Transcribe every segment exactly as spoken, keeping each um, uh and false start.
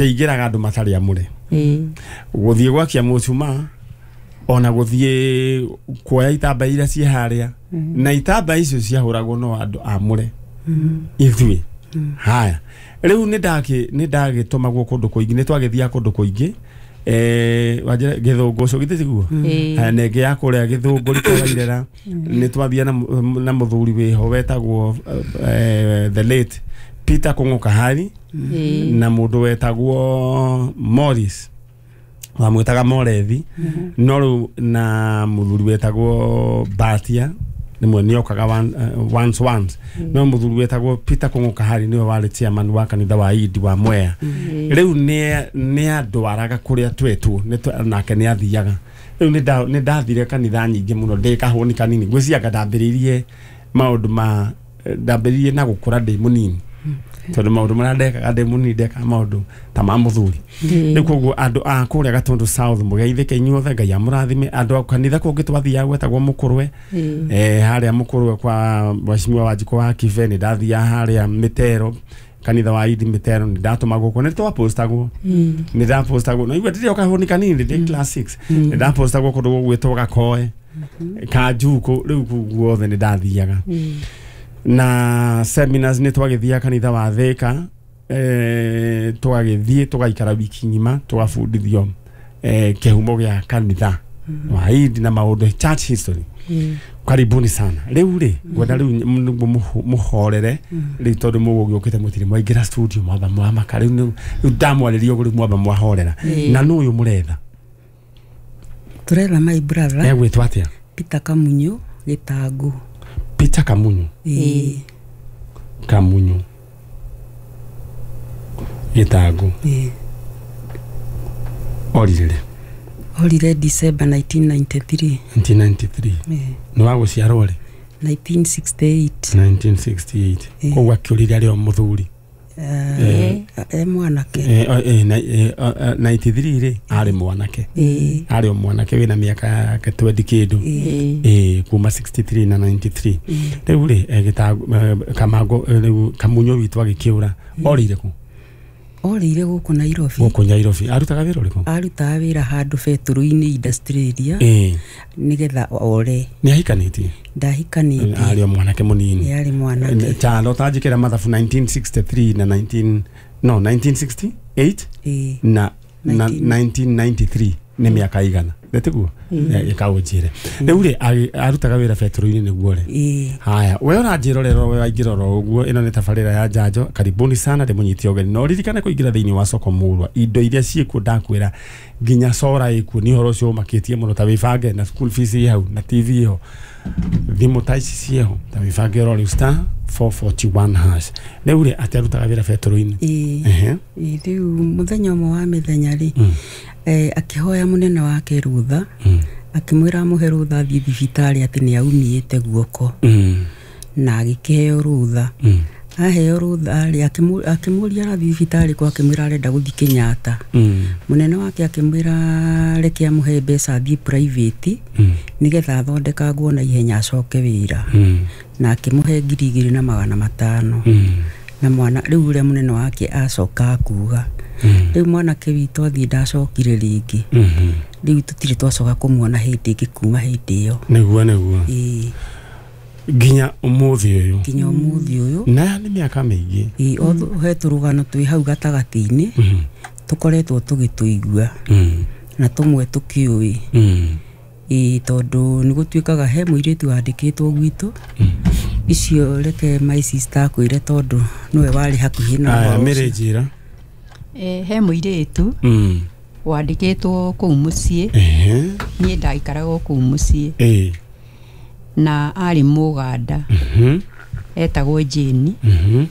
Kĩingĩraga andũ matarĩ amũre. Ĩĩ. Gũthiĩ gwakia mũcumaa ona gũthiĩ kuoya itambaya iria ciĩ harĩa, na itambaya icio ciahũragwo no andũ amũre ithuĩ. Haya, rĩu nĩ ndakĩ nĩ ndagĩtũmagwo kũndũ kũingĩ, nĩ twagĩthiaga kũndũ kũingĩ, eh wanjĩra Gĩthũngũ ũcio githĩ tiguo? Ĩĩ. Haya, na ĩngĩ ya kũrĩa Gĩthũngũri kwa Wairera nĩ twathia na mũ- na mũthuri wĩho wetagwo eh, the late Peter Kũng'ũ Kahari Ĩĩ. na mũndũ wetagwo Morris, wamwĩtaga Morethi, no rĩu na mũthuri wetagwo Batia rĩmwe nĩokaga one, uh, once once, no mũthuri wetagwo Peter Kũng'ũ Kahari nĩwe warĩ chairman wa kanitha wa Idi wa Mwea. Rĩu nĩ nĩ andwaraga kũrĩa twetwo, nĩ twa- nake nĩ athiaga. Rĩu nĩ nda- nĩ ndathire kanitha nyingĩ mũno ndĩ kahũni kanini. Ngwĩciria ndambĩrĩirie maũndũ ma ndambĩrĩirie na gũkũra ndĩ mũnini, tondũ maũndũ marĩa ndekaga ndĩ mũnini, ndekaga maũndũ ta ma mũthuri. Rĩu koguo andũ a kũrĩa Gatũndũ South, mũgeithĩke inyuothe, Ngai amũrathime. Andũ a kanitha kũngĩ twathiaga gwetagwo Mũkũrwe, Ĩĩ. eh, harĩa Mũkũrwe kwa Mheshimiwa Wanjikũ wa Kibe. Nĩ ndathiaga harĩa Mĩtero, kanitha wa Idi Mĩtero, nĩ ndatũmagwo kuo, nĩ twapostagwo, nĩ ndapostagwo na igua ndĩrĩ o kahũni kanini, ndĩ class six, nĩ ndapostagwo kũndũ gũgwĩtwo Gakoe Kanjukũ. Rĩu kũu guothe nĩ ndathiaga na seminars. Nĩ twagĩthiaga kanitha wa Thĩka, eh, tũgagĩthiĩ tũgaikara wiki ng'ima tũgabundithio eh, kĩhumo gĩa kanitha wa Idi na maũndũ, church history. Karibuni sana. Rĩu rĩ, ngwenda rĩu nĩguo mũho- mũhorere rĩu, tondũ mũgũgĩũkĩte mũtirĩ mwaingĩra studio, mwamba mwamaka. Rĩu nĩ- rĩu ndamwarĩria ũguo, rĩu mwamba mwahorera. Ĩĩ. Na nũ ũyũ mũretha? Tũretha my brother. Egwĩtwo atĩa? Peter Kamunyu Gĩtangũ. Peter Kamunyu? Ĩĩ. Kamunyu Gĩtangũ. Ĩĩ. Orire rĩ? Orire December nineteen ninety-three. nineteen ninety-three? Ĩĩ. Nĩ wa gũciarwo rĩ? nineteen sixty-eight. nineteen sixty-eight. Ĩĩ. Koguo akĩũrire arĩ o mũthuri? Eh, e mwanake. Eh, eh, eh, na- eh, eh, ninety-three rĩ, arĩ mwanake? Ĩĩ. Arĩ o mwanake wĩna mĩaka yake twenty kĩndũ. Ĩĩ. Ĩĩ, kuma sixty-three na ninety-three. Rĩu rĩ, eh, Gĩtangũ, eh, Kamango, eh, rĩu Kamunyo witũ agĩkĩũra orĩire kũ? Orĩire gũkũ Nairobi. Gũkũ Nairobi. Arutaga wĩra ũrĩkũ? Arutaga wĩra handũ betũrũ-inĩ, industrial area. Ĩĩ. Nĩgetha ore. Nĩ ahikanĩtie? Ndahikanĩtie. Arĩ o mwanake mũnini? Ĩ, arĩ mwanake. Chalo tanjĩkĩra mathabu, nineteen sixty-three na nineteen, no, nineteen sixty-eight Ĩĩ. na na nineteen nineteen ninety-three nĩ mĩaka igana nĩtiguo? Ĩkaũnjĩre rĩu rĩ, agi- arutaga wĩra betũrũ-inĩ nĩguo rĩ? Ĩĩ. Haya, we ũranjĩrorera, we waingĩra oro ũguo, ĩno nĩ tabarĩra ya Njanjo. Karibuni sana, ndĩmũnyite ũgeni na ũririkane kũingĩra thĩinĩ wa soko mũrwa. Indo iria ciĩkuo, ndakwĩra nginya cora ĩkuo, nĩ ũhoro ũcio ũmakĩtie mũno. Ta wĩbange na school fees ĩ hau, na T V ĩho, thimũ ta ici ciĩho. Ta wĩbange oro rĩu, star four forty-one hash. Rĩu rĩ, atĩ arutaga wĩra betũrũ-inĩ? Ĩĩ. Ehe. Ĩĩ, rĩu mũthenya ũmwe wa mĩthenya rĩ, Mm. eh, akĩhoya mũnene wake rũtha, Mm. akĩmwĩra amũhe rũtha athiĩ thibitarĩ, atĩ nĩ aumĩte guoko. Mm. Na agĩkĩheo rũtha. Mm. Aheo rũtha rĩ, akĩmũ- akĩmũria arathiĩ thibitarĩ kũ, akĩmwĩra arenda gũthiĩ Kenyatta. Mm. Mũnene wake akĩmwĩra reke amũhe mbeca athiĩ private, Mm. nĩgetha athondekangwo na ihenya acoke wĩra. Mm. Na akĩmũhe ngiri igĩrĩ na magana matano. Mm. Na mwana rĩu ũrĩa mũnene wake acoka akuga, Mm. rĩu mwanake witũ athiĩ ndacokire rĩngĩ. Mhm. Rĩu tũtirĩ twacoka kũmuona hĩndĩ ĩngĩ kuma hĩndĩ ĩyo. nĩguo nĩguo Ĩĩ. Nginya ũmũthĩ ũyũ? Nginya ũmũthĩ ũyũ. Na nĩ mĩaka mĩingĩ. Ĩĩ, although he tũrũgano twĩ hau gatagatĩ-inĩ Mhm. tũkoretwo tũgĩtũigua Mm. na tũmwe tũkĩũĩ. Mm. Ĩĩ, tondũ nĩ gũtuĩkaga he mũirĩtu wandĩkĩtwo gwitũ icio. Reke my sister akwĩre, tondũ nĩwe warĩ hakuhĩ na Aya. ũhoro Mĩrĩ ũcio. njĩra. Eh, he mũirĩtu Mm. wandĩkĩtwo kũu mũciĩ. Ehe. Niĩ ndaikaraga o kũu mũciĩ. Ĩĩ. Na arĩ Mũganda. Mhm. Etagwo Jane. Mhm.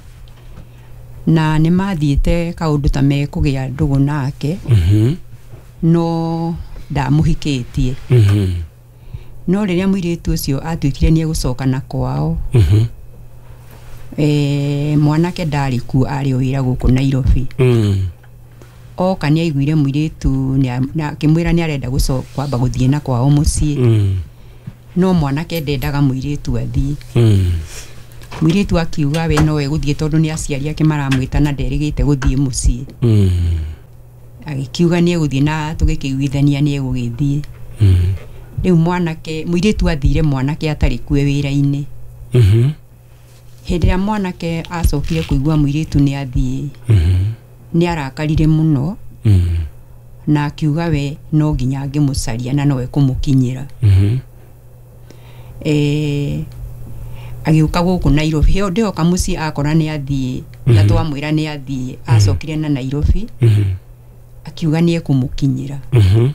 Na nĩ mathiĩte kaũndũ ta mekũgĩa ndũgũ nake, Mhm. no ndamũhikĩtie. Mhm. No rĩrĩa mũirĩtu ũcio atuĩkire nĩ egũcoka na kwao, Mhm. e, mwanake ndarĩ kuo, arĩ o wĩra gũkũ Nairobi. Mm. Oka nĩ aiguire mũirĩtu nĩa- na akĩmwĩra nĩ arenda gũco- kwamba gũthiĩ na kwao mũciĩ. Mm. No mwanake ndendaga mũirĩtu athiĩ. Mm. Mũirĩtu akiuga we no egũthiĩ, tondũ nĩ aciari ake maramwĩta na nderĩgĩte gũthiĩ mũciĩ. Mm. Akiuga nĩ egũthiĩ na tũgĩkĩiguithania nĩ egũgĩthiĩ. Mm. Rĩu mwanake mũirĩtu athire mwanake atarĩ kue wĩra-inĩ. Mhm. Hĩndĩ ĩrĩa mwanake acokire kũigua mũirĩtu nĩ athiĩ, Mhm. nĩ arakarire mũno Mm. na akiuga we no nginya angĩmũcaria na nowe kũmũkinyĩra. Mhm. Eh, agĩũka gũkũ Nairobi hĩo ndĩoka mũciĩ akora nĩ athiĩ na twamwĩra nĩ athiĩ acokire na Nairobi Mhm. akiuga nĩ ekũmũkinyĩra. Mhm.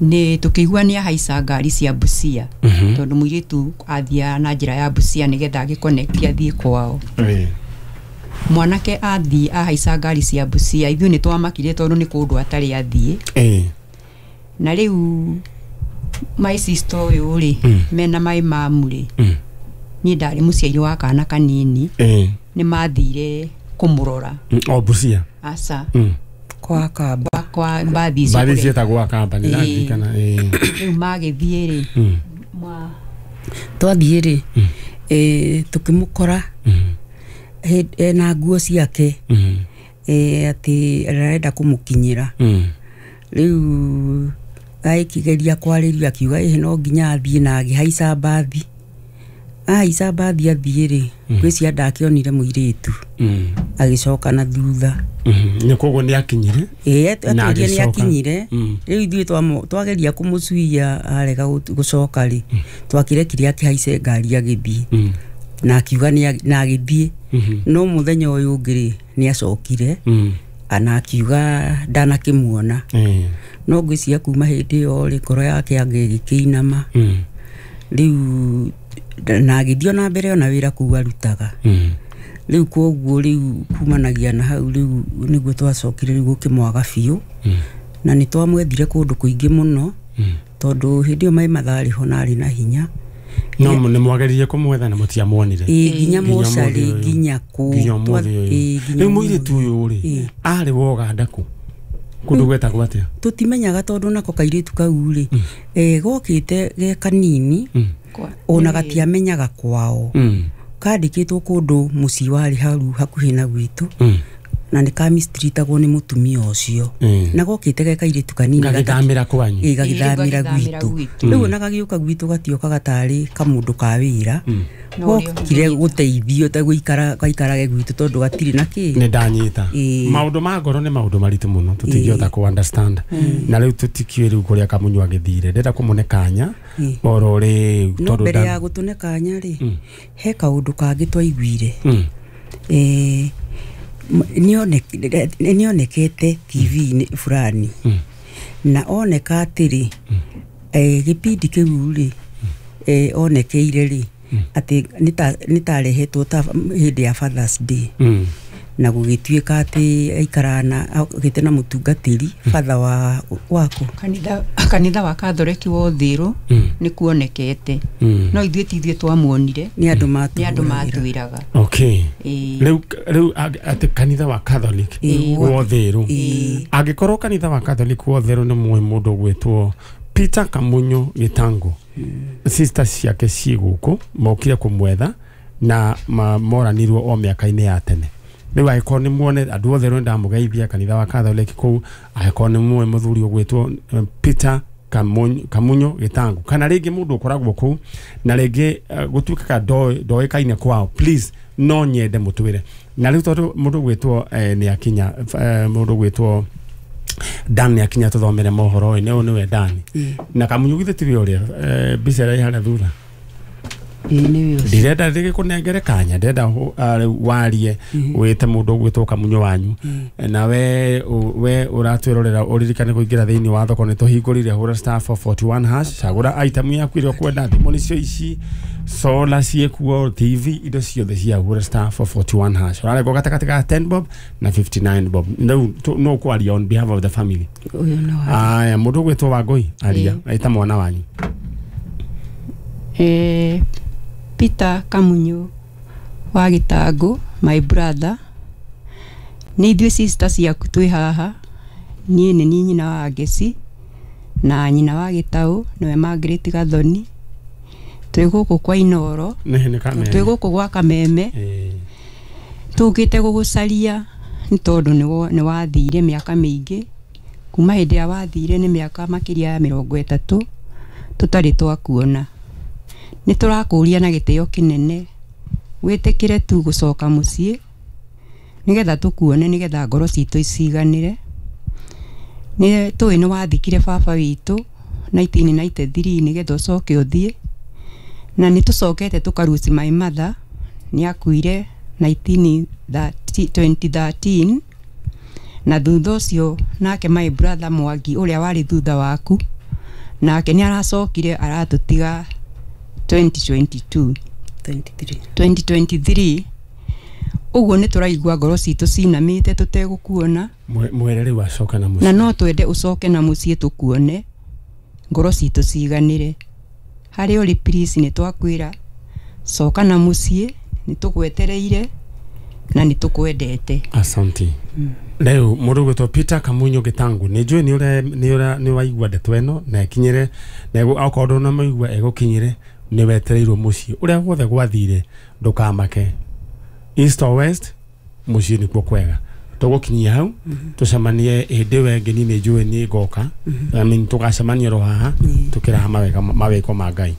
Nĩ tũkĩigua nĩ ahaica ngari cia Busia Mhm. tondũ mũirĩtu athiaga na njĩra ya Busia nĩgetha agĩconnect athiĩ kwao. Eh. Mwanake athiĩ ahaica ngari cia Busia ithuĩ nĩ twamakire tondũ nĩ kũndũ atarĩ athiĩ. Eh. Na rĩu my sister ũyũ rĩ Mm. mena my mamu rĩ Mm. niĩ ndarĩ mũciari wa kana kanini Eh. nĩ mathire kũmũrora. Mm, O Busia. Aca Mm. Kwa kamba kwa, kwa mbathi icio Mbathi kũrĩa- ciĩtagwo Akamba nĩ Ĩĩ. ndarikana. Eh. Rĩu magĩthiĩ rĩ Mm. mwa twathiĩ rĩ eh, tũkĩmũkora Mm. hĩ- ena nguo ciake Mm. eh, atĩ arenda kũmũkinyĩra. Mm. Rĩu agĩkĩgeria kwarĩrio akiuga ĩhĩ no nginya athiĩ na agĩhaica mbathi. Ahaica mbathi athiĩ rĩ ngwĩciria ndakĩonire mũirĩtu Mm. agĩcoka na thutha. Mhm. Nĩ koguo nĩ akinyire. Ĩĩ Na atwĩrire nĩ agĩcoka. akinyire. Mm. Rĩu ithuĩ twamũ- twageria kũmũcuia arega gũ- gũcoka rĩ twakĩrekire akĩhaice ngari agĩthiĩ Mm. na akiuga nĩ a- na agĩthiĩ. Mhm. No mũthenya ũyũ ũngĩ rĩ nĩ acokire Mm. na akiuga ndanakĩmuona. Eh. No ngwĩciria kuma hĩndĩ ĩyo rĩ ngoro yake anga ĩgĩkĩinama. Mm. Rĩu na agĩthiĩ ona mbere ona wĩra kũu arutaga. Mm. Rĩu koguo rĩu kumanagia na hau rĩu nĩguo twacokire rĩu gũkĩmwaga biũ. Mm. Na nĩ twamwethire kũndũ kũingĩ mũno Mm. tondũ hĩndĩ ĩyo maĩ matharĩ ho na arĩ na hinya. No nĩ mwageririe kũmwetha na mũtiamuonire. Ĩĩ nginya Nginya mocarĩ ũmũthĩ ũyũ. nginya kũ Nginya ũmũthĩ ũyũ. Ĩĩ, nginya Rĩu ũmũthĩ. mũirĩtu ũyũ rĩ Ĩĩ. arĩ wa Ũganda kũ? Kũndũ gwetagwo atĩa? Tũtimenyaga tondũ nako kairĩtu kau rĩ eh, gokĩte ge kanini Mm. kwa ona gatiamenyaga kwao. Mm. Kandĩkĩtwo kũndũ mũciĩ warĩ hau hakuhĩ na gwitũ Mm. na nĩ kamistritagwo nĩ mũtumia ũcio. Mm. Na gokĩte ge kairĩtu kanini gata- Gagĩthamĩra kwanyu. ĩĩ gagĩthamĩra Ĩĩ, gagĩthamĩra gwitũ. gwitũ. Rĩu ona gagĩũka gwitũ gatiokaga tarĩ kamũndũ ka wĩra. No ũrĩa Gokire ũngĩnyita. gũteithio ta gũikara gaikarage gwitũ tondũ gatirĩ na kĩ. Nĩ ndanyita. Ĩĩ. Maũndũ ma ngoro nĩ maũndũ maritũ mũno tũtingĩhota kũ understand. Na rĩu tũtikĩũĩ rĩu kũrĩa Kamunyu agĩthire. Ndĩrenda kũmũne kanya Ĩĩ. oro rĩu No tondũ mbere nda- ya gũtũne kanya rĩ Mm. he kaũndũ kangĩ twaiguire. Mm. Eh, m- nĩone- nĩonekete T V-inĩ fulani. Mm. Na oneka atĩrĩ eh, gĩbindi kĩu rĩ eh, onekeire rĩ atĩ nĩ tarehetwo ta hĩndĩ ya Father's Day. Mm. Na gũgĩtuĩka atĩ aikaraga na okĩte na mũtungatĩri father wa waku. Kanitha kanitha wa Katholeki wa Ũthĩrũ Mm. nĩ kuonekete. Mm. No ithuĩ ti ithuĩ twamuonire Nĩ andũ nĩ andũ matũhũragĩra. matwĩraga. Okay. Ĩĩ. Rĩu rĩu ag- atĩ kanitha wa Catholic Ĩĩ. wa Ũthĩrũ. Ĩĩ. Angĩkorwo kanitha wa Catholic wa Ũthĩrũ nĩ mũĩ mũndũ ũgwĩtwo Peter Kamunyu Gĩtangũ. Sister ciake ciĩ gũkũ mokire kũmwetha na ma- moranirwo o mĩaka-inĩ ya tene. Rĩu angĩkorwo nĩ muone andũ othe rĩu ndamũgeithia kanitha wa Catholic kũu angĩkorwo nĩ mũĩ mũthuri ũgwĩtwo eh, Peter Kamunyu, Kamunyu Gĩtangũ kana rĩngĩ mũndũ ũkoragwo kũu na rĩngĩ eh, gũtuĩkaga ndoĩ- ndoĩkaine kwao please no nyende mũtwĩre. Na rĩu tondũ mũndũ ũgwĩtwo eh, nĩ akinya eh, mũndũ ũgwĩtwo Dan nĩ akinya tũthomere mohoro ĩ nĩ nĩwe Dan. Ĩĩ. Na Kamunyu githĩ tiwe ũrĩa eh, mbica ĩrĩa ĩ harĩa thutha. Ĩĩ nĩwe ũcio. Ndirenda rĩgĩkũnengere kanya ndĩrenda hũ- ah, rĩu warie wĩte mũndũ ũgwĩtwo Kamunyu wanyu. Na we ũ- we ũratwĩrorera ũririkane kũingĩra thĩinĩ wa thoko nĩ tũhingũrire hũra star four forty one hash cagũra item yaku ĩrĩa ũkwenda thimũ nĩcio ici solar ciĩkuo T V indo ciothe cia hũra star four forty one hash ũrarengwo gatagatĩ ka ten bob na fifty nine bob. Rĩu tũ- no ũkwaria on behalf of the family. Ũyũ no wa- Aya mũndũ ũgwĩtwo Wangũi aria ĩta mwana wanyu. Eh, Peter Kamunyu wa Gĩtangũ my brother nĩ ithuĩ sister ciaku twĩ haha niĩ nĩ niĩ nyina wa Ngeci na nyina wa Gĩtaũ nĩwe Margaret Gathoni twĩ gũkũ kwa Inoro Nĩ nĩ Kameme. twĩ gũkũ gwa Kameme Ĩĩ. tũkĩte gũgũcaria Nĩ tondũ nĩ wathire mĩaka mĩingĩ, kuma hĩndĩ ĩrĩa wathire nĩ mĩaka makĩria ya mĩrongo ĩtatũ tũtarĩ twakuona. Nĩ tũrakũria na gĩtĩo kĩnene wĩtĩkĩre tu gũcoka mũciĩ nĩgetha tũkuone, nĩgetha ngoro citũ iciganĩre. Nĩ tũĩ nĩ wathikire baba witũ nineteen ninety-three nĩgetha ũcoke ũthiĩ, na nĩ tũcokete tũkaruci my mother nĩ akuire twenty thirteen, na thutha ũcio nake my brother Mwangi ũrĩa warĩ thutha waku nake nĩ aracokire aratũtiga twenty twenty-two twenty twenty-three. Ũguo nĩ tũraigua ngoro citũ cinamĩte tũtegũkuona. Mwere rĩu acoka na mũciĩ, na no twende ũcoke na mũciĩ tũkuone, ngoro citũ ciganĩre. Harĩ ũrĩ please nĩ twakwĩra coka na mũciĩ, nĩ tũgwetereire na nĩ tũkwendete. Asante. Rĩu mũndũ ũgwĩtwo Peter Kamunyo Gĩtangu, nĩ njũĩ nĩ ũre nĩ ũra nĩ waigua ndeto ĩno na ĩkinyĩre, na okorwo ndũnamĩigua ĩgũkinyĩre, nĩ wetereirwo mũciĩ. Ũrĩa guothe gwathire ndũkamake, east or west, mũciĩ nĩkuo kwega. Tũgũkinyia hau tũcemanie hĩndĩ ĩyo ĩngĩ, niĩ nĩ njũĩ nĩ ngoka, I mean tũgacemania ro haha tũkĩraha mawega mawĩko ma Ngai.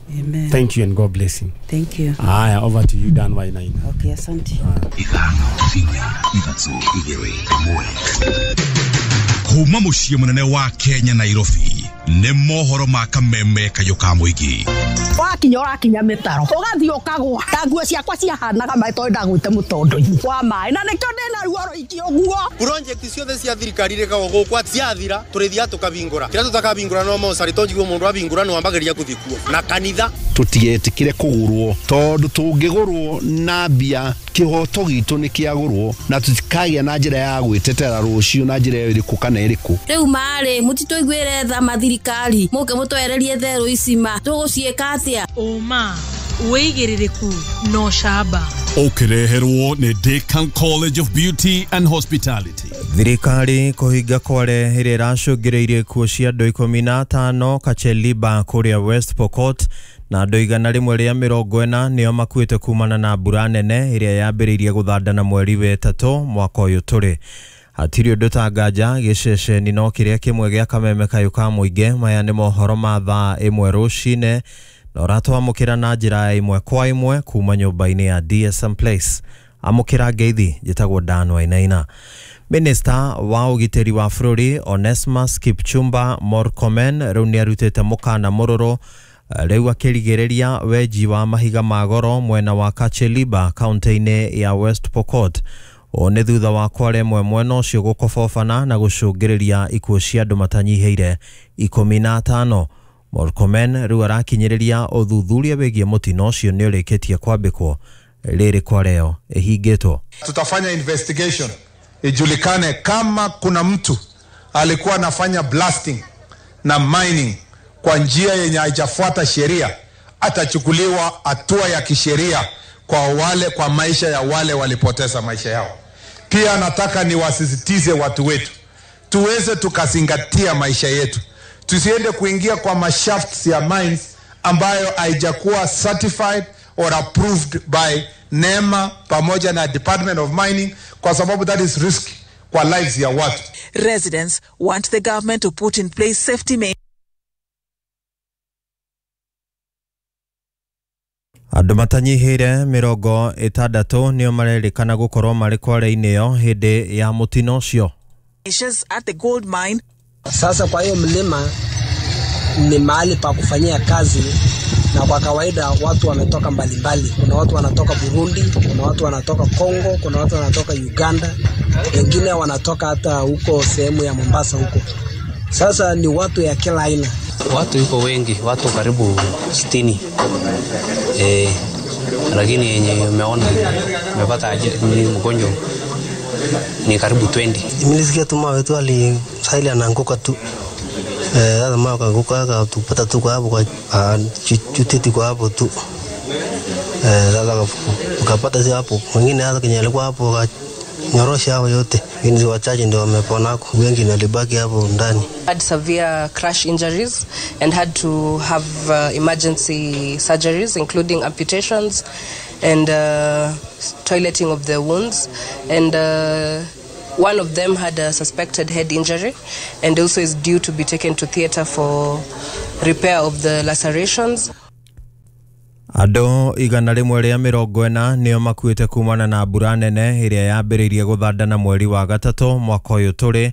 Thank you and God bless you. Thank you. Aya, over to you Dan Wainaina. Okay, asante. Ithano inya ithatũ igĩrĩ ĩmwe. Kuma mũciĩ mũnene wa Kenya Nairobi nĩ mohoro ma kameme kayũ ka mũingĩ. Wakinya ũrakinya mĩtaro ũgathiĩ ũkagũa ta nguo ciakwa ciahanaga maĩ tondũ ndagwĩte mũtondo-inĩ wa maĩ, na nĩkĩo ndĩna ruo rũingĩ ũguo. Project ciothe cia thirikari rĩkagwo gũkũ ciathira tũrĩthiaga tũkabingũra, kĩrĩa tũtakabingũra no mocarĩ tondũ njiguo mũndũ abingũra nĩ wambagĩrĩria gũthiĩ kuo na kanitha. Tũtigetĩkĩre kũgũrwo tondũ tũngĩgũrwo na mbia kĩhoto gitũ nĩ kĩagũrwo, na tũtikagĩa na njĩra ya gwĩtetera rũciũ na njĩra ĩrĩkũ kana ĩrĩkũ. Rĩu marĩ mũtitũiguĩre tha mathirikari mũke mũtwererie therũ ici ma tũgũciĩka atĩa? Ũma wĩigĩrĩrĩku no camba ũkĩreherwo nĩ Decan College of Beauty and Hospitality. Thirikari kũhinga kware ĩrĩa ĩracũngĩrĩirie ikuũ cia andũ ikũmi na atano Kacheliba kũrĩa West Pokot, na andũ igana rĩmwe rĩa mĩrongo ĩna nĩo makuĩte kumana na mbura nene ĩrĩa yambĩrĩirie gũthandana mweri wetatũ mwaka ũyũ tũrĩ. Hatirĩ ũndũ ta nganja gĩceceni no kĩrĩa kĩmwe gĩa kameme kayũ ka mũingĩ. Maya nĩ mohoro ma thaa ĩmwe rũcinĩ na ũratwamũkĩra na njĩra ya ĩmwe kwa ĩmwe kuma nyũmba-inĩ ya D S M Place. Amũkĩra ngeithi, njĩtagwo Dan Wainaina. Minista wa ũgitĩri wa bũrũri Onesmus Kipchumba Murkomen rĩu nĩarutĩte mũkana mũrũrũ rĩu akĩrigĩrĩria wenji wa mahiga ma goro mwena wa Kacheliba kaunti-inĩ ya West Pokot. Ũũ nĩ thutha wa kware ĩmwe mwena ũcio gũkobobana na gũcũngĩrĩria ikuũ cia andũ matanyihĩire ikũmi na atano. Murkomen rĩu arakinyĩrĩria ũthuthuria wĩgiĩ mũtino ũcio nĩ ũrĩkĩtie kwambĩkwo rĩrĩ kwareo ĩhingĩtwo. Tutafanya investigation ijulikane kama kuna mtu alikuwa anafanya blasting na mining kwa njia yenye haijafuata sheria, atachukuliwa hatua ya kisheria kwa wale kwa maisha ya wale walipoteza maisha yao. Pia nataka niwasisitize watu wetu tuweze tukazingatia maisha yetu, tusiende kuingia kwa mashafts ya mines ambayo haijakuwa certified or approved by NEMA pamoja na Department of Mining, kwa sababu that is risk kwa lives ya watu. Residents want the government to put in place safety measures. Andũ matanyihĩire mĩrongo ĩtandatũ nĩo marerĩkana gũkorwo marĩ kware-inĩ ĩyo hĩndĩ ya mũtino ũcio. At the gold mine. Sasa kwa hiyo mlima ni mahali pa kufanyia kazi, na kwa kawaida watu wametoka mbalimbali. Kuna watu wanatoka Burundi, kuna watu wanatoka Kongo, kuna watu wanatoka Uganda, wengine wanatoka hata huko sehemu ya Mombasa huko. Sasa ni watu ya kila aina. Watu yuko wengi, watu karibu sitini. Eh, lakini yenye umeona umepata ni mgonjwa ni karibu twenty. Nilisikia tu mawe tu ali sahili anaanguka tu. Eh, sasa mawe kaanguka akatupata tu kwa hapo kwa chutiti kwa hapo tu. Eh, sasa tukapata si hapo. Wengine hata kenye alikuwa hapo nyorosha hao yote. Ni wachache ndio wamepona, wengi walibaki hapo ndani. Had severe crash injuries and had to have uh, emergency surgeries including amputations and uh, toileting of the wounds and uh, One of them had a suspected head injury and also is due to be taken to theater for repair of the lacerations. Andũ igana rĩmwe rĩa mĩrongo ĩna nĩo makuĩte kumana na mbura nene ĩrĩa yambĩrĩirie gũthandana mweri wa gatatũ mwaka ũyũ tũrĩ.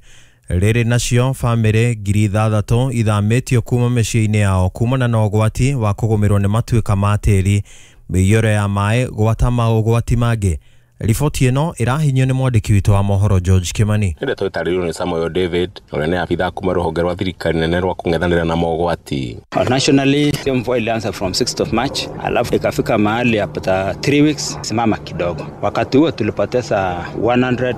Rĩrĩ nacio bamĩrĩ ngiri ithathatũ ithamĩtio kuma mĩciĩ-inĩ yao kumana na ũgwati wa kũgũmĩrwo nĩ matuĩka ma tĩri, mĩiyũro ya maĩ gwata maũgwati mangĩ. Riboti ĩno ĩrahinyio nĩ mwandĩki witũ wa mohoro George Kimani. Ndeto ĩtarĩirio nĩ Samuel David ũrĩa nĩ abithaa kuma rũhonge rwa thirikari nene rwa kũng'ethanĩra na mogwati. Nationally hiyo mvua ilianza from sixth of March, alafu ikafika mahali after three weeks simama kidogo. Wakati huo tulipoteza one hundred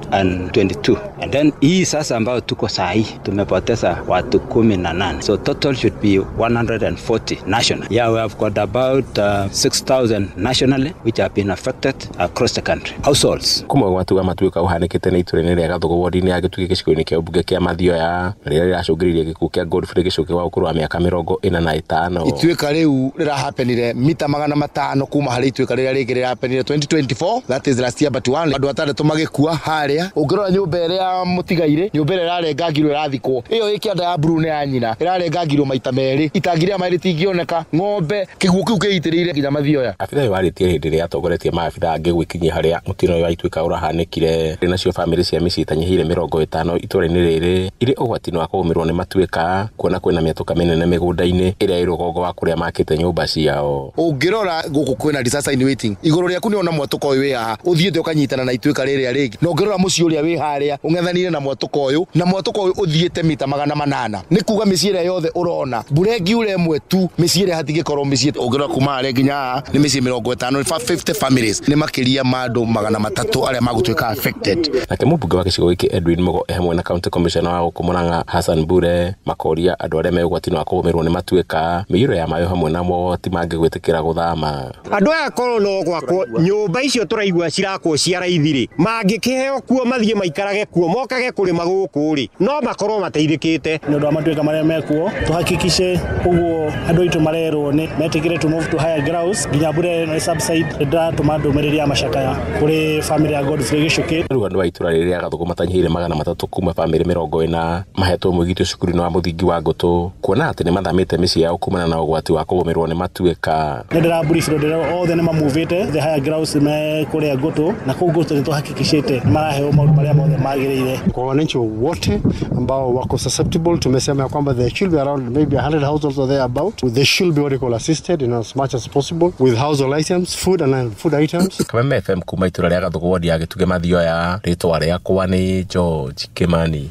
twenty-two, and then hii sasa ambayo tuko saa hii tumepoteza watu kumi na nane. So total should be one hundred forty national. Yeah, we have got about uh, six thousand nationally which have been affected across the country. Households. Kuma ũgwati wa matuĩka ũhanĩkĩte nĩ itũra-inĩ rĩa Gathugu ward-inĩ ya Gĩtugĩ gĩcigo-inĩ kĩa ũmbunge kĩa Mathioya rĩrĩa rĩracũngĩrĩirie gĩkuũ kĩa Godfrey Gĩcũkĩ wa ũkũrũ wa mĩaka mĩrongo ĩna na ĩtano. Ituĩka rĩu rĩrahapenire mita magana matano kuma harĩ ituĩka rĩrĩa rĩngĩ rĩrahapenire twenty twenty-four, that is last year but one. Andũ atandatũ magĩkua harĩa. Ũngĩrora nyũmba ĩrĩa mũtigaire, nyũmba ĩrĩa ĩrarengangirwo ĩrathikwo, ĩyo ĩ kĩanda ya blue nĩ ya nyina, ĩrarengangirwo maita merĩ, itangi rĩa maĩ rĩtingĩoneka, ng'ombe kĩguũ kĩu kĩitĩrĩire nginya Mathioya. Abithaa ũyũ warĩtie hĩndĩ ĩrĩa atongoretie maabithaa angĩ gwĩkinyia harĩa mũtino ũyũ wa ituĩka ũrahanĩkire. Nacio bamĩrĩ cia mĩciĩ itanyihĩire mĩrongo ĩtano itũra-inĩ rĩrĩ irĩ ũgwati-inĩ wa kũgũmĩrwo nĩ matuĩka kuona kwĩna mĩatũka mĩnene mĩgũnda-inĩ ĩrĩa ĩ rũgongo wa kũrĩa makĩte nyũmba ciao. Ũngĩrora gũkũ kwĩna disaster in waiting, igũrũ rĩaku nĩ ona mwatũka ũyũ wĩ haha ũthiĩte ũkanyitana na ituĩka rĩrĩa rĩngĩ, na ũngĩrora mũciĩ ũrĩa wĩ harĩa ũng'ethanire na mwatũka ũyũ, na mwatũka ũyũ ũthiĩte mita magana manana, nĩ kuga mĩciĩ ĩrĩa yothe ũrona mbura ĩngiura ĩmwe tu mĩciĩ ĩrĩa hatingĩkorwo mĩciĩ. Ũngĩrora kuma harĩa nginya haha nĩ mĩciĩ mĩrongo ĩtano, fifty families, nĩ makĩria ma andũ magana matatũ arĩa magũtuĩka affected. Nake mũmbunge wa gĩcigo gĩkĩ Edwin Mugo hamwe na county commissioner wa gũkũ Murang'a Hassan Bure makoria andũ arĩa me ũgwati-inĩ wa kũgũmĩrwo nĩ matuĩka, mĩiyũro ya maĩ hamwe na mogwati mangĩ gwĩtĩkĩra gũthama. Andũ aya korwo no gwakwo nyũmba icio tũraigua cirakwo cia raithi rĩ, mangĩkĩheo kuo mathiĩ maikarage kuo mokage kũrĩma gũkũ rĩ, no makorwo mateithĩkĩte. Nĩ ũndũ wa matuĩka marĩa mekuo tũhakikishe ũguo andũ aitũ marerwo nĩ metĩkĩre to move to higher grounds nginya mbura ĩno subside. Ndĩratũma ndũmĩrĩri ya macakaya kũrĩ family ya Godfrey Gĩcũkĩ. Rĩu andũ a itũra rĩrĩ rĩa Gathugu matanyihĩire magana matatũ kuma bamĩrĩ mĩrongo ĩna mahetwo mwĩgitio cukuru-inĩ wa mũthingi wa Ngũtũ kuona atĩ nĩ mathamĩte mĩciĩ yao kumana na ũgwati wa kũgũmĩrwo nĩ matuĩka. Nĩ ndĩrabrief ndĩra othe nĩ mamuvĩte the higher grounds me kũrĩa Ngũtũ, na kũu Ngũtũ nĩ tũhakikishĩte nĩ maraheo maũndũ marĩa mothe magĩrĩire. Kwa wananchi wote ambao wako susceptible, tumesema kwamba there should be around maybe a hundred households or thereabout. They should be what we call assisted in as much as possible with household items, food and food items. Kameme F M kuma itũra rĩa Gathugu ward ya Gĩtugĩ Mathioya, rĩtwa rĩakwa nĩ George Kimani.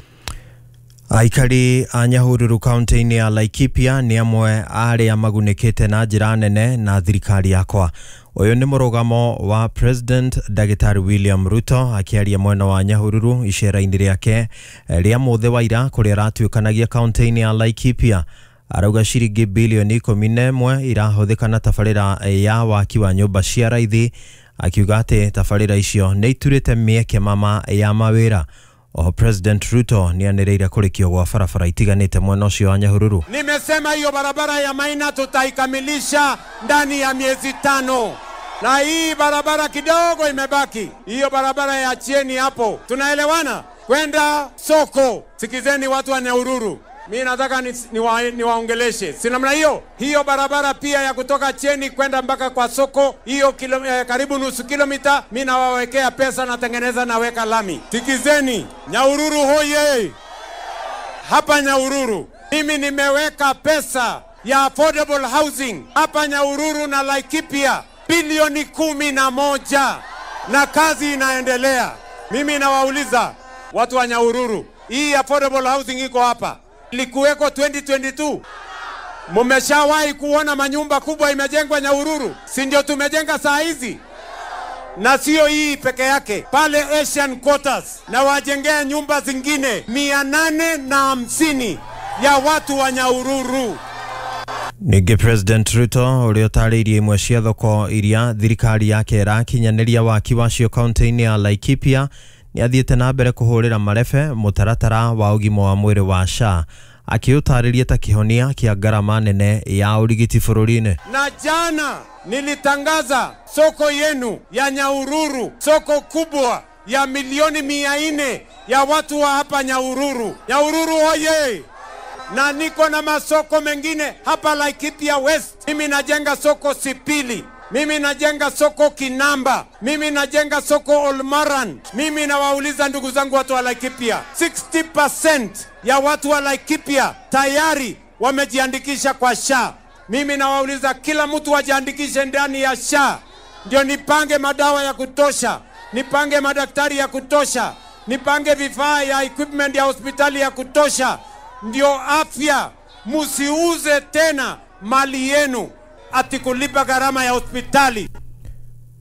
Aikari a Nyahururu kaunti-inĩ ya Laikipia nĩ amwe arĩa magunĩkĩte na njĩra nene na thirikari yakwa. Ũyũ nĩ mũrũgamo wa President Ndagĩtarĩ William Ruto akĩaria mwena wa Nyahururu icera-inĩ rĩake rĩa mũthĩ wa ira kũrĩa aratuĩkanagia kaunti-inĩ ya Laikipia. Arauga ciringi bilioni ikũmi na ĩmwe irahũthĩka na tabarĩra ya waki wa nyũmba cia raithi, akiuga atĩ tabarĩra icio nĩ iturĩte mĩeke mama ya mawĩra. Oho President Ruto nĩ anĩrĩire kũrĩkio gwa barabara itiganĩte mwena ũcio wa Nyahururu. Nimesema hiyo barabara ya Maina tutaikamilisha ndani ya miezi tano, na hii barabara kidogo imebaki, hiyo barabara ya Chieni hapo, tunaelewana kwenda soko. Sikizeni watu wa Nyahururu, mimi nataka niwaongeleshe ni, ni si namna hiyo. Hiyo barabara pia ya kutoka Chieni kwenda mpaka kwa soko hiyo kilo, eh, karibu nusu kilomita, mimi nawawekea pesa, natengeneza, naweka lami. Sikizeni Nyahururu hoye! Hapa Nyahururu mimi nimeweka pesa ya affordable housing hapa Nyahururu na Laikipia bilioni kumi na moja, na kazi inaendelea. Mimi nawauliza watu wa Nyahururu, hii affordable housing iko hapa, ilikuweko twenty twenty-two. Mumeshawahi kuona manyumba kubwa imejengwa Nyahururu? Si ndio tumejenga saa hizi? Na sio hii peke yake, pale Asian Quarters na wajengea nyumba zingine mia nane na hamsini ya watu wa Nyahururu. Ningĩ President Ruto ũrĩa ũtarĩirie imwe cia thoko iria thirikari yake ĩrakinyanĩria waki wacio kaunti-inĩ ya Laikipia nĩ athiĩte na mbere kũhũrĩra marebe mũtaratara wa ũgima wa mwĩrĩ wa S H A, akĩũtarĩria ta kĩhonia kĩa ngarama nene ya ũrigiti bũrũri-inĩ. Na jana nilitangaza soko yenu ya Nyahururu, soko kubwa ya milioni mia nne ya watu wa hapa Nyahururu. Nyahururu oye! Na niko na masoko mengine hapa Laikipia West. Mimi najenga soko Sipili, mimi najenga soko Kinamba, mimi najenga soko Olmaran. Mimi nawauliza ndugu zangu watu wa Laikipia, sixty percent ya watu wa Laikipia tayari wamejiandikisha kwa S H A. Mimi nawauliza kila mtu ajiandikishe ndani ya S H A, ndio nipange madawa ya kutosha, nipange madaktari ya kutosha, nipange vifaa ya equipment ya hospitali ya kutosha, ndio afya. Musiuze tena mali yenu ati kulipa gharama ya hospitali.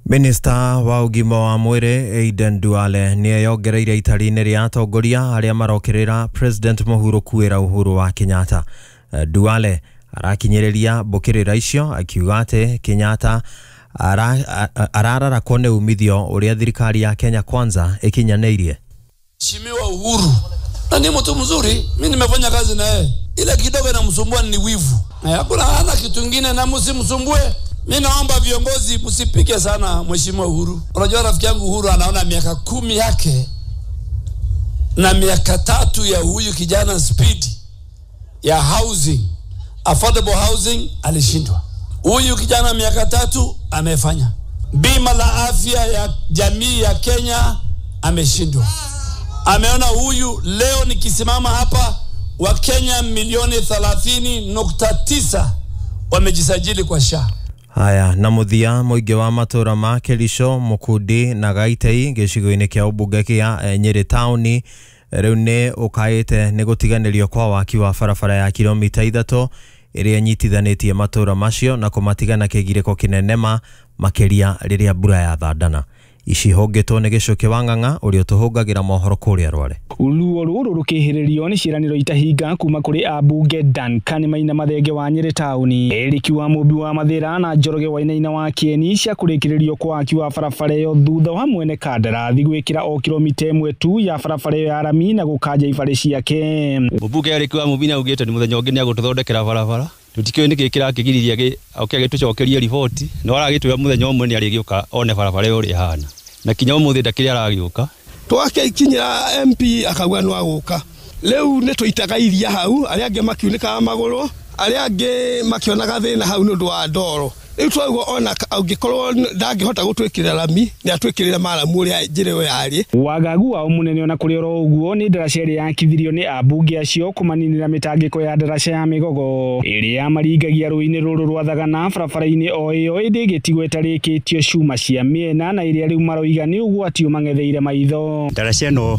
Minista wa ũgima wa mwĩrĩ Aden Duale nĩeyongereire itari-inĩ rĩa atongoria arĩa marokĩrĩra President Mũhuro kuĩra Uhuru wa Kenyatta. Duale arakinyĩrĩria mbũkĩrĩra icio akiuga atĩ Kenyatta arararakwo nĩ umithio ũrĩa thirikari ya Kenya Kwanza ĩkinyanĩirie. Mheshimiwa Uhuru na ni mtu mzuri, mimi nimefanya kazi na yeye. Ile kidogo inamsumbua ni wivu. Hakuna hana kitu kingine, na msimsumbue. Mimi naomba viongozi msipike sana Mheshimiwa Uhuru. Unajua rafiki yangu Uhuru anaona miaka kumi yake na miaka tatu ya huyu kijana Speed ya housing, affordable housing alishindwa. Huyu kijana miaka tatu amefanya. Bima la afya ya jamii ya Kenya ameshindwa. Ameona huyu leo nikisimama hapa wa Kenya milioni thelathini nukta tisa wamejisajili kwa S H A. Haya, na muthia mũingĩ wa matũra ma Kericho, Mukundi na Gaitei gĩcigo-inĩ kĩa ũmbunge kĩa Nyĩrĩ taũni rĩu nĩ ũkaĩte nĩ gũtiganĩrio kwa waki wa barabara ya kilomita ithatũ ĩrĩa ĩnyitithanĩtie matũra macio na kũmatigana kĩgirĩko kĩnene ma makĩria rĩrĩa mbura yathandana. Ici hũngĩtwo nĩ Gĩcũkĩ wa Ng'ang'a ũrĩa ũtũhũngagĩra mohoro kũrĩa Rware. Ruo rũrũ rũkĩhĩrĩrio nĩ ciĩranĩro itahinga kuma kũrĩ ambunge Duncan Maina Mathenge wa Nyĩrĩ taũni, Eric wa Mũmbi wa Mathĩra na Njoroge Wainaina wa Kĩeni cia kũrĩkĩrĩrio kwa waki wa barabara ĩyo thutha wa mwene kandarathi gwĩkĩra o kilomita ĩmwe tu ya barabara ĩyo ya rami na gũkanja ibarĩ ciake. Mũmbunge Eric wa Mũmbi nĩaugĩte nĩ mũthenya ũngĩ nĩagũtũthondekera barabara. Tũtikĩũĩ nĩkĩ kĩrakĩgiririe oke agĩtũcokerie riboti, no aragĩtwĩra mũthenya ũmwe nĩarĩgĩũka one barabara ĩyo ũrĩa ĩhana. Na kinya ũmũthĩ ndakĩrĩ aragĩũka. Twakĩkinyĩra M P akauga no agũka. Rĩu nĩ tũitaga iria hau, arĩa angĩ makiunĩkaga magũrũ, arĩa angĩ makĩonaga thĩna hau nĩ ũndũ wa ndoro. Rĩu twauga ona angĩkorwo ndangĩhota gũtwĩkĩrĩra rami, nĩ atwĩkĩrĩre maramu ũrĩa njĩra ĩyo yarĩ. Wagagu wao mũnene ona kũrĩ oro ũguo nĩ ndaraca ĩrĩa yakithirio nĩ ambunge acio kũmaninĩra mĩtangĩko ya ndaraca ya Mĩgogo ĩrĩa yamaringagia rũĩ-inĩ rũrũ rwa Thagana barabara-inĩ o ĩyo ĩndĩ ĩgĩtigwo ĩtarĩkĩtio cuma cia mĩena na ĩrĩa rĩu maroiga nĩ ũgwati ũmang'etheire maitho. Ndaraca ĩno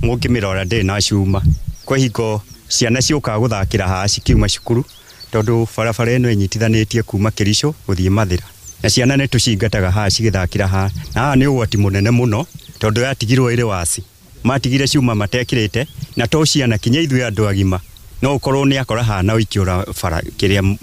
mũngĩmĩrora ndĩrĩ na cuma, kwa hingo ciana ciũkaga gũthakĩra haha cikiuma cukuru tondũ barabara ĩno ĩnyitithanĩtie kuma Kericho gũthiĩ Mathĩra, na ciana nĩ tũcingataga haha cigĩthakĩra haha, na haha nĩ ũgwati mũnene mũno tondũ yatigirwo ĩrĩ waci, matigire cuma matekĩrĩte, na to ciana kinya ithuĩ andũ agima no ũkorwo nĩ akora haha na ũikĩũra bara kĩrĩa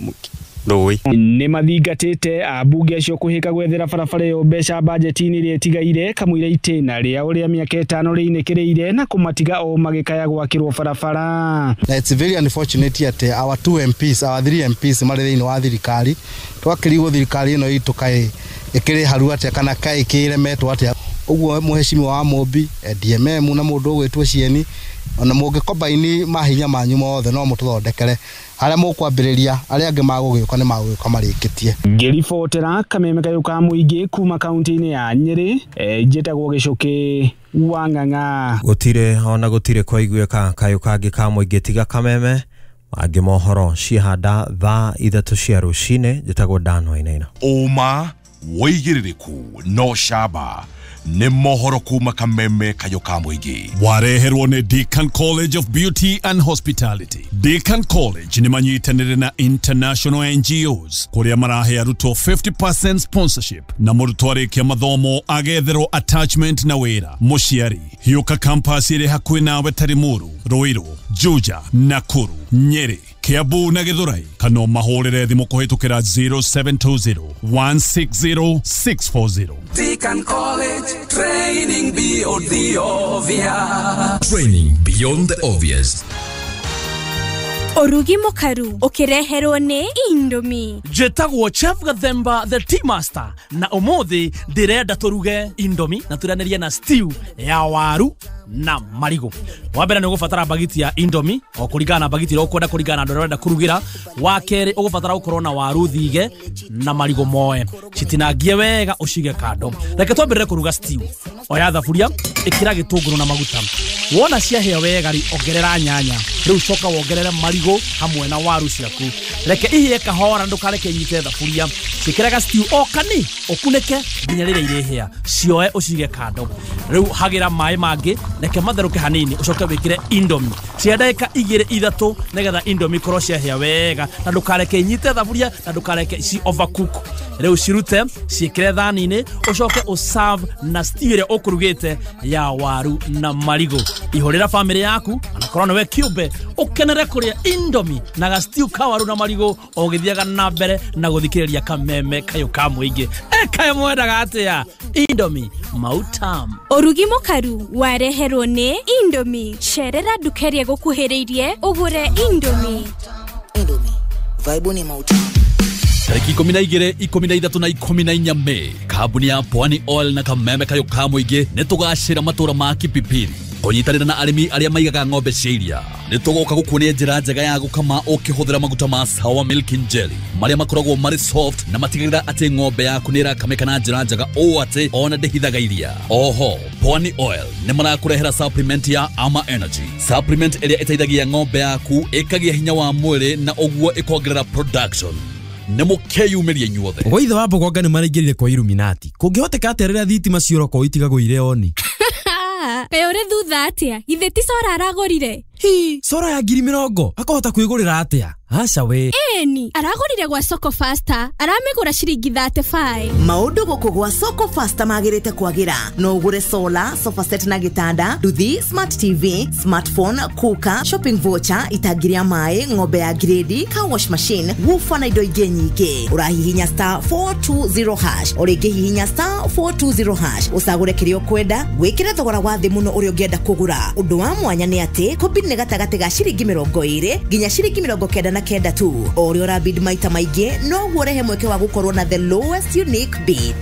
rũĩ. Nĩ mathingatĩte ambunge acio kũhĩka gwethera barabara ĩyo mbeca bajeti-inĩ ĩrĩa ĩtigaire kamũira itĩna rĩa ũrĩa mĩaka ĩtano rĩinĩkĩrĩire na kũmatiga o magĩkaya gwakĩrwo barabara. Na it's very unfortunate atĩ our two M Ps, our three M Ps marĩ thĩinĩ wa thirikari, twakĩrigwo thirikari ĩno itũ kaĩ ĩkĩrĩ haru atĩa kana kaĩ ĩkĩremetwo atĩa. Ũguo mũheshimiwa wa Mũmbi, D M M na mũndũ ũgwĩtwo Cieni, ona mũngĩkombaini mahinya manyu mothe no mũtũthondekere harĩa mũkwambĩrĩria, arĩa angĩ magũgĩũka nĩ magũgĩũka marĩkĩtie. Ngĩribotera kameme kayũ ka mũingĩ kuma kaunti-inĩ ya Nyĩrĩ, njĩtagwo Gĩcũkĩ wa Ng'ang'a. Gũtirĩ ona gũtirĩ kwaiguĩka kayũ kangĩ ka mũingĩ tiga kameme mangĩ mohoro cihanda thaa ithatũ cia rũcinĩ. Njĩtagwo Dan Wainaina. Ũma wĩigĩrĩrĩku no camba nĩ mohoro kuma kameme kayũ ka mũingĩ. Wareherwo nĩ Deacon College of Beauty and Hospitality. Deacon College nĩ manyitanĩire na international N G Os kũrĩa marahe arutwo fifty percent sponsorship na mũrutwo arĩkia mathomo agetherwo attachment na wĩra. Mũciari hiũka campus ĩrĩ hakuhĩ nawe ta Limuru, Ruiru, Juja, Nakuru, Nyeri, Kiambu na Githurai, kana mahũrĩre thimũ kũhĩtũkĩra zero seven two zero, one six zero, six four zero. Deacon College, training beyond the obvious. Training beyond the obvious. Urugi mukaru ukireherwo ni Indomie. Njĩtagwo Chef Gathemba the Tea Master na ũmũthĩ ndĩrenda tũruge Indomie na tũrĩanĩrie na stew ya waru na marigũ. Wa mbere nĩ ũgũbatara bagiti ya Indomie o kũringana na bagiti ĩrĩa ũkwenda kũringana na andũ arĩa ũrenda kũrugĩra. Wa kerĩ ũgũbatara gũkorwo na waru thige na marigũ moe. Citinangie wega ũcige kando. Reke twambĩrĩre kũruga stew. Oya thaburia, ĩkĩra gĩtũngũrũ na maguta. Wona ciahĩa wega rĩ, ongerera nyanya. Rĩu coka wongerere marigũ hamwe na waru ciaku. Reke ihĩe kahora, ndũkareke inyite thaburia. Ciĩkĩre ga stew o kani, ũkunĩke nginya rĩrĩa irĩhĩa. Cioe ũcige kando. Rĩu hagĩra maĩ mangĩ, reke matherũke hanini, ũcoke wĩkĩre Indomie. Cia ndagĩka igĩrĩ ithatũ nĩgetha Indomie ikorwo ciahĩa wega na ndũkareke inyite thaburia na ndũkareke ci overcook. Rĩu cirute, ciĩkĩre thani-inĩ, ũcoke ũserve na stew ĩrĩa ũkũrugĩte ya waru na marigũ. Ihũrĩra famĩlĩ yaku anakorwo nĩwe kĩũmbe, ũkenere kũrĩa Indomie na ga stew ka waru na marigũ o ũgĩthiaga na mbere na gũthikĩrĩria kameme kayũ ka mũingĩ. Ekaĩ mwendaga atĩa? Indomie mautam. Ũrugi mũkaru wareherwo nĩ Indomie. Cerera nduka ĩrĩa ĩgũkuhĩrĩirie ũgũre Indomie. Indomie, vibe ni mautam. Tariki ikũmi na igĩrĩ, ikũmi na ithatũ na ikũmi na inya Mei, kambuni ya Pwani Oil na kameme kayũ ka mũingĩ nĩ tũgacĩra matũra ma Kipipiri kũnyitanĩra na arĩmi arĩa maigaga ng'ombe cia iria. Nĩ tũgoka gũkuonia njĩra njega ya gũkama ũkĩhũthĩra maguta ma Sawa Milk and Jelly marĩa makoragwo marĩ soft na matigagĩrĩra atĩ ng'ombe yaku nĩ ĩrakamĩka na njĩra njega ũũ atĩ ona ndĩhithaga iria. Oho, Pwani Oil nĩ marakũrehera supplement ya Ama Energy, supplement ĩrĩa ĩteithagia ng'ombe yaku ĩkagĩa hinya wa mwĩrĩ na ũguo ĩkongerera production. Nĩ mũkeyumĩrie inyuothe. Gwaithe wa Mbogonga nĩ maraingĩrire kwa Illuminati. Kũngĩhoteka atĩa rĩrĩa thitima ciora kwao itigagwo irĩ oni? Kaĩ ũrĩ thutha atĩa? Githĩ ti cora aragũrire? Hi, cora ya ngiri mĩrongo akahota kwĩgũrĩra atĩa? Aca we. Ĩni, aragũrire gwa Soko Faster, aramĩgũra ciringi thirty five. Maũndũ gũkũ gwa Soko Faster magĩrĩte kwagĩra. No ũgũre solar, sofa set na gĩtanda, nduthi, smart T V, smartphone, cooker, shopping voucher, itangi rĩa maĩ, ng'ombe ya grade, car wash machine, woofer na indo ingĩ nyingĩ. Ũrahihinya star four two zero hash, o rĩngĩ hihinya star four two zero hash, ũcagũre kĩrĩa ũkwenda, wĩkĩre thogora wa thĩ mũno ũrĩa ũngĩenda kũgũra. Ũndũ wa mwanya nĩ atĩ kũbid nĩ gatagatĩ ga ciringi mĩrongo ĩrĩ nginya ciringi mĩrongo kenda na kenda tu. O ũrĩa ũrabid maita maingĩ noguo ũrehe mweke wa gũkorwo na the lowest unique bid.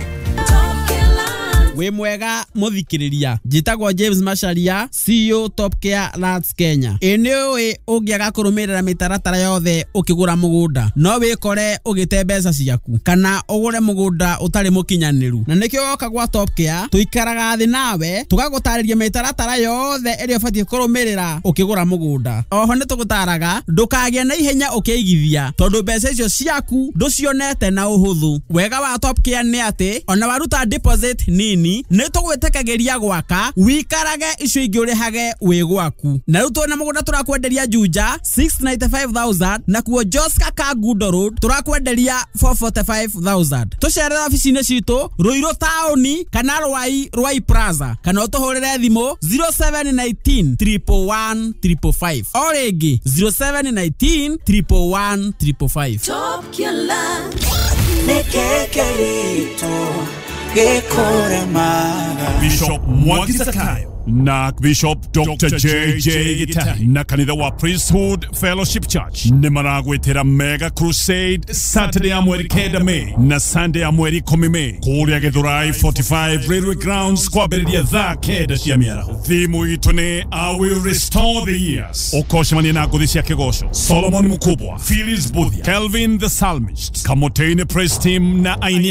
Wĩ mwega mũthikĩrĩria, njĩtagwo James Macharia, C E O Top Care Lands Kenya. Ĩ nĩ ũĩ ũngĩaga kũrũmĩrĩra mĩtaratara yothe ũkĩgũra mũgũnda no wĩkore ũgĩte mbeca ciaku kana ũgũre mũgũnda ũtarĩ mũkinyanĩru, na nĩkĩo woka gwa Top Care tũikaraga thĩ nawe tũgagũtarĩria mĩtaratara yothe ĩrĩa ũbatiĩ kũrũmĩrĩra ũkĩgũra mũgũnda. Oho nĩ tũgũtaraga ndũkagĩe na ihenya ũkĩigithia tondũ mbeca icio ciaku ndũcionete na ũhũthũ. Wega wa Top Care nĩ atĩ ona waruta deposit nini nĩ tũgwĩtĩkagĩria gwaka wikarage icio ingĩ ũrĩhage wĩ gwaku. Na rĩu twĩna mũgũnda tũrakwenderia Juja six ninety five thousand na kuo Joska Kangundo Road tũrakwenderia four forty five thousand. Tũcerere obici-inĩ citũ Ruiru taũni kana Rwai Rwai Plaza kana ũtũhũrĩre thimũ zero seven nineteen triple one triple five. O rĩngĩ zero seven nineteen triple one triple five. Top Killer Bishop Mwangi Zakayo na Bishop Doctor J J Gitari na kanitha wa Priesthood Fellowship Church nĩ maragwĩtĩra Mega Crusade Saturday ya mweri kenda Mei na Sunday ya mweri ikũmi Mei kũrĩa Githurai forty five Railway Grounds kwambĩrĩria thaa kenda cia mĩaraho. Thimu itũ nĩ I will restore the years. Ũkocemania na ngũthi cia kĩgoco Solomon Mukubwa, Phyllis Buthia, Kelvin the Psalmist, Kamotene Praise Team na aini